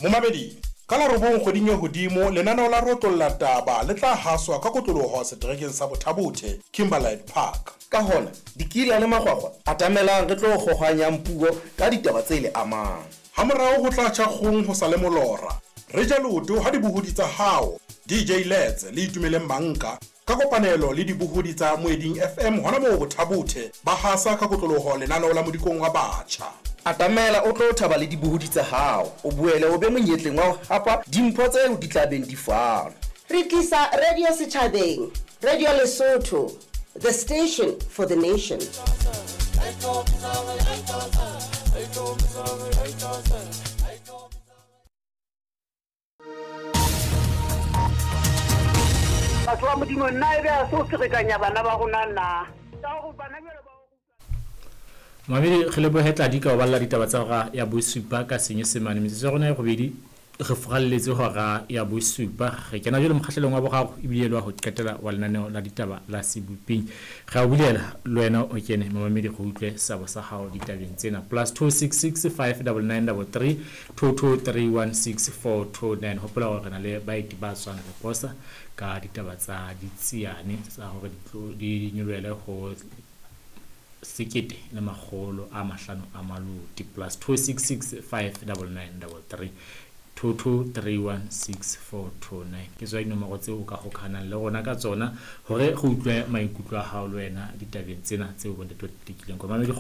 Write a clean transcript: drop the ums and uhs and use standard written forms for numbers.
Momamedi, ka la robong kgweding e hodimo, lenaneo la Rotlolla Taba le tla haswa ka kotloloho seterekeng sa Bothabothe, Kimberlite Park. Ka hona, dikila le makgwakgwa, atamelang re tlo kgohwanyang puo ka ditaba tse le amang. Hamorao ho tla tjha kgong ho sa le molora. Re ja leoto ha dibohodi tsa hao, DJ Letts le Itumeleng Manka, ka kopanelo le dibohodi tsa Moeding FM hona moo Bothabothe, ba hasa ka kotloloho lenaneo la Modikong wa Batjha. Atamela o tlo thaba le dibohodi tsa hao, o boele o be monyetleng wa ho hapa dimpho tseo di tla beng di fanwa. Re tlisa radio setjhabeng, Radio Lesotho, the station for the nation. Batho ba Modimo, nna e be a se o ferekanya bana ba rona na? Ka gore bana bjalo ba. Mamedi re lebohe Tladi ka ho balla ditaba tsa hora ya bosupa ka Senyesemane. Metsotso ya rona e robedi re furalletse hora ya bosupa. Re kena jwale mokgahlelong wa boraro ebile e le wa ho qetela wa lenaneo la ditaba la Seboping. Re a o bulela le wena o kene momamedi re utlwe seabo sa hao ditabeng tsena. Plus 266 599 33 22316429. Hopola hore re na le baeti ba tswang Leposa ka ditaba tsa ditsiane tsa hore di nyolohele ho sekete le makgolo a mahlano a maloti. Plus 266 599 33 22316429 ke tswa dinomoro tseo o ka hokahanang le rona ka tsona hore re utlwe maikutlo a hao le wena ditabeng tsena tseo bontate ba di tekileng. Kwa mamedi.